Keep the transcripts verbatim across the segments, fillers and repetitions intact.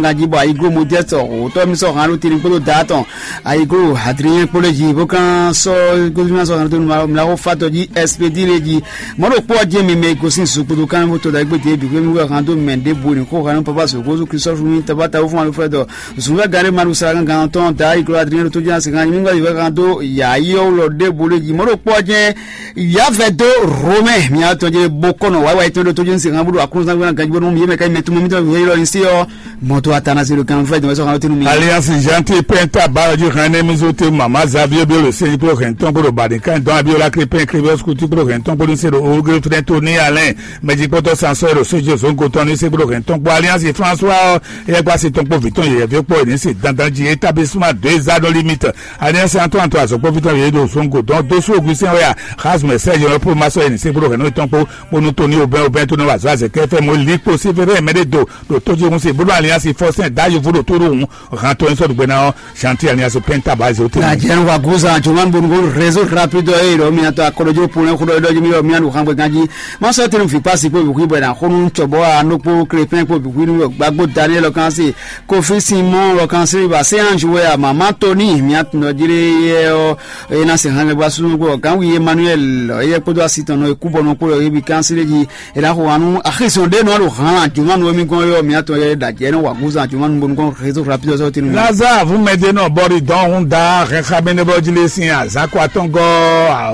ganjí bɔ ayiglo Modeste òtɔ́ mi sɔ́ hǎn ɖo tini kpódó da tɔn ayiglo Adrien kpó lé jí bó kán sɔ́ gómìnà sɔ́ hǎn ɖo tini mla xó fatɔ jí Expedi lé jí. Mɔ̌ ɖo kpó ɔ́ jẹ́ mi mɛ e gosín zu kpódó kán bó to da égbé dě bǐ xwé mi wɛ hǎn dó mɛ ɖěbǔ e ní xó hǎn nú Papa Sǒgózú Kristu fún mi tabata wó fún alufrɛdɔ zǔnvɛ́ gán ɖé ma ɖo sa gán gán tɔn da ayiglo Adrien ɖo tó jẹ́ asi gán mi wɛ hǎn dó yǎ yi ɔ́ lɔ ɖěbǔ lé jí. Mɔ̌ ɖo kpó ɔ́ jẹ́ yǎvɛdó Romɛ mia tɔn jɛ bó kɔnɔ wáyíwáyí tɔn ɖo tó jɛ́n se hàn búɖo aklúnúzán gbéra ganjí bónú yé mɛ ká nyí mɛ tún mɛ mítɔn wǐwá élɔ́ ní sí ɔ́. Mɔto atanasí ɖo kan fɛ jɔmɛ sɔxan tunu mi. Alliance Gentil pɛnta bayo jí hɛn nɛmi zo te mama Xavier Biolo sɛnyi kpó hɛn tɔn kpó ɖo badi kan dɔn Abiola Crépin Crévius kuti kpó hɛn tɔn kpó ní se ɖo ogre fɛnɛ tó ní alɛn mɛjikpɔtɔ sansɔ ɖo sojɛ zongo tɔn ní se kpó hɛn tɔn kpó Alliance François ɔ yɛ gba se tɔn kpó vitɔn yɛyɛ vi kpó ní se dandan jí établissement deux ans no limite. Alliance Antoine to azɔkpɔvitɔ yě ɖo zongo dɔn dó sú Augustin wɛ a Xazmɛ Serge lɔ pó ma sɔ́ yě ní sɛ́n kpódó hɛ̌nnu tɔn kpó bónú Tony Aubin Aubin tó nɔ wa azɔ̌ azɛ̌kɛ́ fɛ́ mɔ lí kpo Sévérin mɛ ɖé do ɖo tójíhún se bónú Alliance Fɔsɛn dá yovo ɖo tó ɖó hǔn hantɔ ɛ sɔ́ ɖu gbɛ ná ɔ́ Chantier Alliance Penta bá zé ó tɛ́. Jɛn wa gúzan jɔman bonu réseau rapide ɔ́ eye ɖɔ miatɔ akɔlɔjɔ ponɛ xó ɖɔ ɖɔ mi mianu xan gbɛ ganji ma sɔ tenu fi pasi kpo bixwi bɔ na xonu cɔbɔ anokpo krepin kpo bixwi nu gbagbo Daniel kan se Kofi Simon lɔ kan se ba se anju wɛ a mama Tony miatɔ jire yɛ ɔ eye na se hɛn gba sunu kpo kan wi Emmanuel eye kpodo asi tɔn nɔ eku bɔ nɔ kpo yɔ ebi kan se ji e na xo anu axisɔn ɖe nɔ ɖo hàn juma nɔ mi gɔn yɔ miatɔ yɛ da jɛ nɔ wa gúzan juma nu bonu kɔn réseau rapide sɔ tenu. Lazare vumɛdenɔ bɔri dɔn hun da hɛn xabɛnɛbɔ jile sin azakɔ atɔngɔ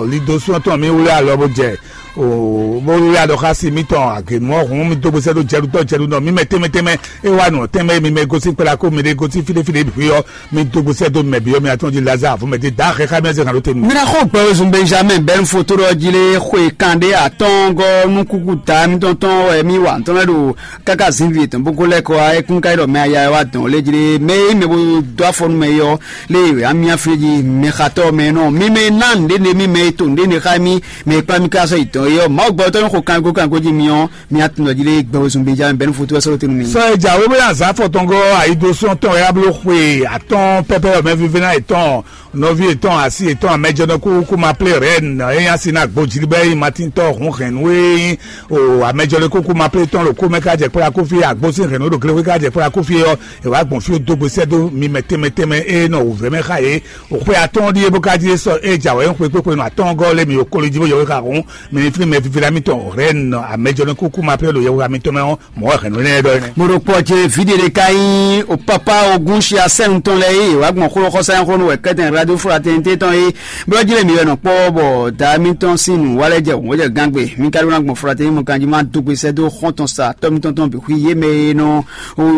alidosun tɔn mi wuli alɔ bo jɛ o bó wí aɖɔ xá sí mítɔn agěnu ɔ́ hǔn mi dó gbèsè ɖó jɛɖutɔ́ jɛɖunɔ mi mɛ tɛnmɛ tɛnmɛ é wá nǔ tɛnmɛ mi mɛ gosín kpéla kó mi ɖé gosín fíɖéfíɖé bǐ xwé ɔ́ mi dó gbèsè ɖó mɛ bǐ ɔ́ mi atɔ́ jí Lazare vɔ́ mɛ dé dá xɛ xá mi ɔ́ zɛ hǎn ɖó te nú mi. Mina xɔ gbɛwezun Benjamin bɛn foto ɖɔ jí lé xwe kan ɖé atɔ́ngɔ́ nú kúkú ta mitɔn tɔn wɛ mi wa ntɔ́ lɛ́ ɖo káká zǐnvi yětɔn bó ko lɛ́ kɔ wá é kún ka yi ɖɔ mɛ aya wá dɔn lé jí lé mɛ é mɛ bó dó afɔ nú mɛ é ɔ́ lé wɛ amí aflé jí mɛ xatɔ́ mɛ nɔ mi mɛ ná nǔɖé ne mi mɛ é to nǔɖé ne xá mi mɛ e kplá mì ká sɔ́ yi dɔn é ɔ́, Mawu gbɛtɔ́ nyɔ́ xo kango kango jí mi ɔ́, mi atúnɔ jí lé gbɛwezun Benjamin bɛ́nu fótó wɛ sɔ́ lóte nú mi. Sɔ́ e jǎwe bó nya azǎn fɔtɔngɔ́ ayidosɔn tɔn e ablo xwe atɔ́ɔ́n pɛpɛ ɔ́ mɛ vívɛ́ná yětɔn nɔví yětɔn asi yětɔn amɛjɔnɔkú kú ma plé rɛ̌n é nya si ná gbo jí bɛ́ yi matíntɔ́ hun hɛ̌nnu e nyí o amɛjɔnɔkú kú ma plé tɔn ɖo kú mɛ ká jɛ kplá kú fí agbósín hɛ̌nnu ɖo glexwé ká jɛ kplá kú fí ɔ́, è wǎ gbɔn fí dó gbe sɛ́ dó mi mɛ tɛnmɛ tɛnmɛ e nɔ wǔvɛ́ mɛ xá yě. Xwe atɔ́ɔ́n ɖíe bó ka jí é sɔ́ é jǎwe xwe kpékpé nɔ atɔ́ɔ́ngɔ́ lé mì okolo jí bó yɔwé xa hǔn, mi ní flín mɛ vívla mitɔn Rɛ̌n amɛjɔnɔkúkú ma plé ɖo yɛhweha mitɔn mɛ ɔ́, mɔ̌ wɛ hɛ̌nnu énɛ́ ɖɔ é nɛ́. Mo ɖo kpɔ́ ce vǐ ɖe ɖé ka nyí o pápá ogún shi asɛ́nu tɔn lɛ́ɛ é wǎ gbɔn xó xɔsá nyí xó nú wɛ kɛ́tɛn radio fraternité tɔn é bó jí lé mi wɛ nɔ kpɔ́ bɔ da mitɔn sín nǔ wa lɛ́ jɛ wǒ jɛ gángbe mi ka ɖó ná gbɔn fraternité mɔ kanjí má dó gbe sɛ́ dó xɔ́ntɔn sa tɔ́ mitɔn tɔn bǐ xwí yé mɛ e nɔ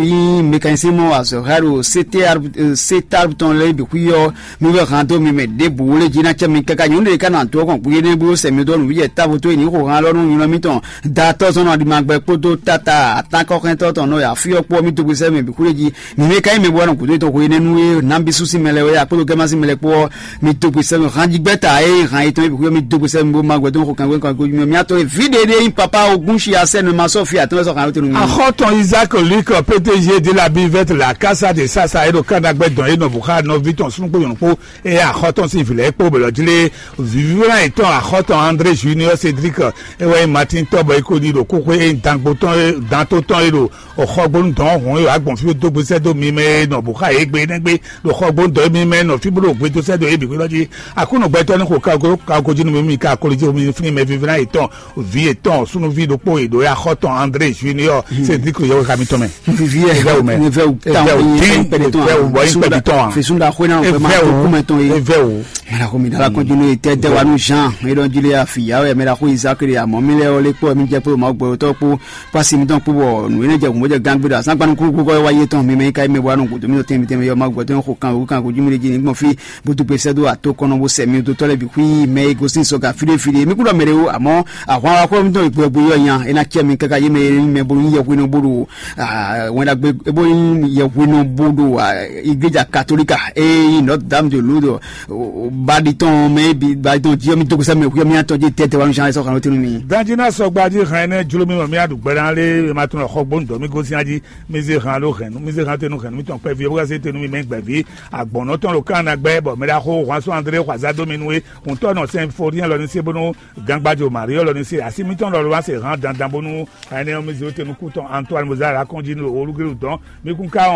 yi mécanicien mɔ azɔ̌ xá ɖo C T R, C T R tɔn lɛ́ɛ bǐ xwí ɔ́, mi wɛ hán dó mi mɛ ɖěbǔ wlé jí ná cɛ mi káká nyɔ̌nu ɖé ká nɔ adó ɔ́ kɔn gbé énɛ́ bó sɛ mi dó nǔ yɛ távo tó e ní xo hán lɔ nú nyɔ̌nu mitɔn da tɔ́ zɔn nɔ aɖimagbɛ kpódó tata atánkɔxɛntɔ́ tɔn nɔ ya fí ɔ́ kpó ɔ́ mi dó gbé sɛ mɛ bǐ xwlé jí. Mi mɛ ka nyí mɛ bó wá nɔ gǔdo tɔn xo énɛ́ nú é nǎ bí sú sín mɛ lɛ́ɛ wɛ ya kpódó gɛ́má sín mɛ lɛ́ɛ kpó ɔ́, mi dó gbe sɛ́ mi hán jí gbɛ́ ta ée hán yětɔn é bǐ xwé mi dó gbe sɛ́ mi bó má gbɛdó xo kangbé kangbé mi atɔ́ vǐ ɖé ɖé nyí papa ogún shi asɛ́ nɔ ma sɔ́ fí atɔ́ sɔ́ hán tɔn mi. Axɔ́tɔn Isaac Luc P T G de la Bivette la Casa de Sasa e ɖo Kanagbɛ dɔn e nɔ vo xá nɔví tɔn súnnu kpó nyɔ̌nu kpó e axɔ́tɔn sín vǐ lɛ́ɛ kpó bɛlɔ jí lé vǐvívɛ́ná yětɔn axɔ́tɔn André Junior Cédric e wɛ nyí Martin tɔ́ bɔ é ko ɖi ɖo kóxwé e nyí dangbo tɔn e danto tɔn e ɖo o xɔgbónu dɔn hɔn e wǎ gbɔn fí dó gbe sɛ́ dó mi mɛ e nɔ bǔ xa yě gbe nɛ́ gbé ɖo xɔgbónu dɔn mi mɛ nɔ fí bó ɖo gbe dó sɛ́ dó yě bǐ xwé lɔ jí. Aklúnɔ gbɛtɔ́ ní xo kago kago jí nú mi mi ka akoli jí mi fín mɛ vívínná yětɔn vǐ yětɔn súnúví ɖokpó e ɖo ya xɔtɔn André Junior Cédric yɔwé xa mitɔn mɛ. Vivi yɛ Evɛwo mɛ. Evɛwo Evɛwo tɔn dín pɛlɛ tɔn Evɛwo bɔ yín pɛbi tɔn a. Fesunda xwé náà fẹ́ máa tó Evɛwo kúmɛ tɔn yìí. Evɛwo. Mɛ la ko mi dala kɔn jinu yɛ tɛ dɛ wa nu Jean e dɔn jili afi ya wɛ mɛ la ko Isaac de amɔ mi lɛ ɔ lé kpɔ mi jɛ kpó ma gbɔ tɔ kpó pasi mi tɔn kpó bɔ nu ene jɛ kun bɔ jɛ gangbe da san gbanu kúrú kúrú kɔ wa ye tɔn mi mɛ ka mi bɔ anu kutu mi tɔn tɛnmi tɛnmi yɔ ma gbɔ tɔn ko kan o kan ko jumile jini gbɔn fi butu pe sɛ do ato kɔnɔ bo sɛ mi do tɔ lɛ bi kui mɛ e gosin sɔ ka fide fide mi kúrò mɛ de o amɔ ahwan wa kɔ mi tɔn gbɛ gbɛ yɔ nya ena cɛ mi kaka ye mɛ ye mɛ bo yi yɛ hwenu bo do wɛn dagbe bo yi yɛ hwenu bo do igleja katolika e yi Notre Dame de Lourdes Badi tɔn mɛ bi badi tɔn jiyɔ mi dogo sɛ mɛ kuyɔ mi atɔ ji tɛtɛ wa mi sɔn sɔn kan tunu mi. Danji na sɔgba ji hɛn ne jlo mi mɔ mi aɖu gbɛ na le ma tɔn xɔ gbɔn dɔ mi gosi aji mi ze hɛn alo hɛn mi ze hɛn tenu hɛn mi tɔn kpɛ vi ewu se tenu mi mɛ gbɛ vi agbɔnɔ tɔn lo kan na gbɛ bɔ mɛ da xo hwan sɔn andre xwaza do mi nu e ŋutɔ nɔ sɛn fo diɛ lɔ ni se bonu gangbajo mari lɔ ni se asi mi tɔn lɔ lo wa se hɛn dandan bonu hɛn ne mi ze tenu ku tɔn Antoine Mozart akɔnji lo olugelu dɔn mi kun ka